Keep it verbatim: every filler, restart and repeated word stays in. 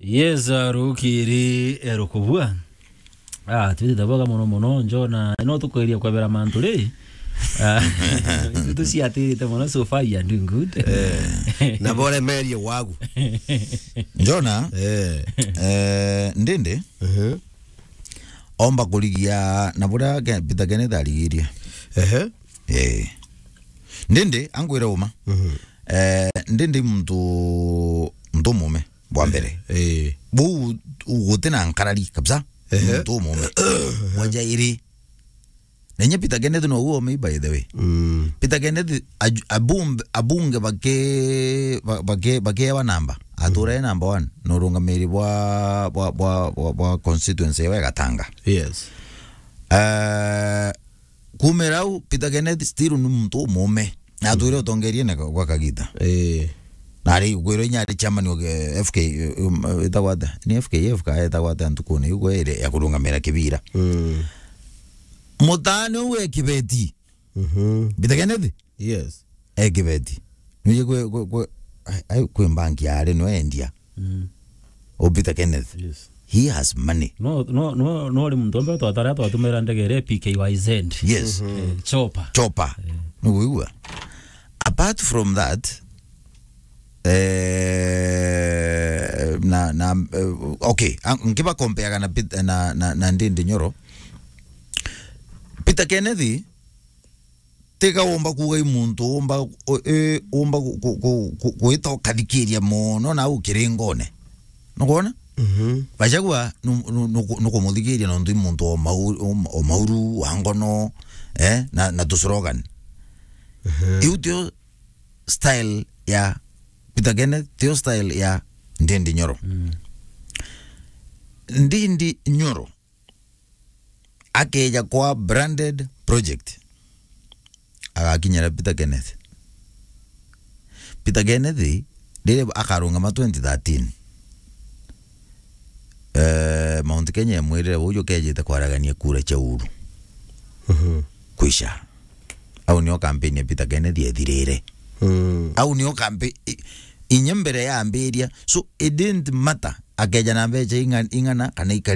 Yes, uh, rukiri, eh, rukubua. Ah, twitite bwega mono mono, Njona. No tukweria kwebera mantu ri. Ah, tuciatirite mono, so far you are doing good. Eh, na bore merie wagu. Njona, eh, eh, ndindi, mhm, omba kurigia na buria Ke-, Peter Kenneth arigirie. Ehe. Eh. Ndindi, angwire uma. Mhm. Eh, ndindi muntu, muntu mume. Bwa mbere. Eh. Buu guti na nkarari kabisa. Ehe. Muntu umume. Wa jairi. Na inya Peter Kenneth no uo me, by the way. Mm. Peter Kenneth aju-, abumbe-, abunge bake-, ba-, bake-, bakewa namba. Atura e number one. No urungamiri bwa, bwa, bwa, bwa, bwa constituency ya Gatanga. Yes. Eh, kumira au, Peter Kenneth still ni muntu umume. Na atwire utongerie na gwa kagita. Eh. Na ari kwirwo inya ari chairman wa, eh, F K, um, etagwa atia? Ni F K F ka etagwa atia ntukune iu kwere ya kurungamira kibira. Mm. Mutane uwe Kibeti. Mhm. Peter Kenneth? Yes. E Kibeti. Nuje kwe, kwe, kwe, ai, ai, kwe banki ya ari no endia. Mm. O Peter Kenneth. Yes. He has money. No, no, no, no ri muntu ombe twatara twatumira ndege ire P K Y Z. Yes. Mhm. Eh, chopper. Chopper. Eh. Niguigua? Apart from that, eh, na, na, eh, okay, ang-, nkiba compareaga na Pet-, na, na, na Ndindi Nyoro. Peter Kenneth, tiga womba kuuga i muntu womba, o-, e, womba ku-, ku-, ku-, ku-, gwita ukathikiria mono na u kiringone. Nukwona? Mhm. Gachagua nu-, nu-, nuku-, nukumuthikiria nontu i muntu o mau-, o ma-, o mauru, wa ngono, eh, na, na tu slogan. Mhm. Iu tio style ya Peter Kenneth, tio style ya Ndindi Nyoro. Mm. Ndindi Nyoro akeja kwa branded project, agakinyira Peter Kenneth. Peter Kenneth, riria akarungama twenty thirteen, eh, Mount Kenya emwirire, "Uju ukejite kwaragania kura cia Uhuru." Mhm. Kwisha. Au nio campaign ya Peter Kenneth ethirire. Mm. Au nio campa-, i-, inya mbere yambiria. So, it didn't matter akeja na mbeca inga-, ing'ana kana ika-,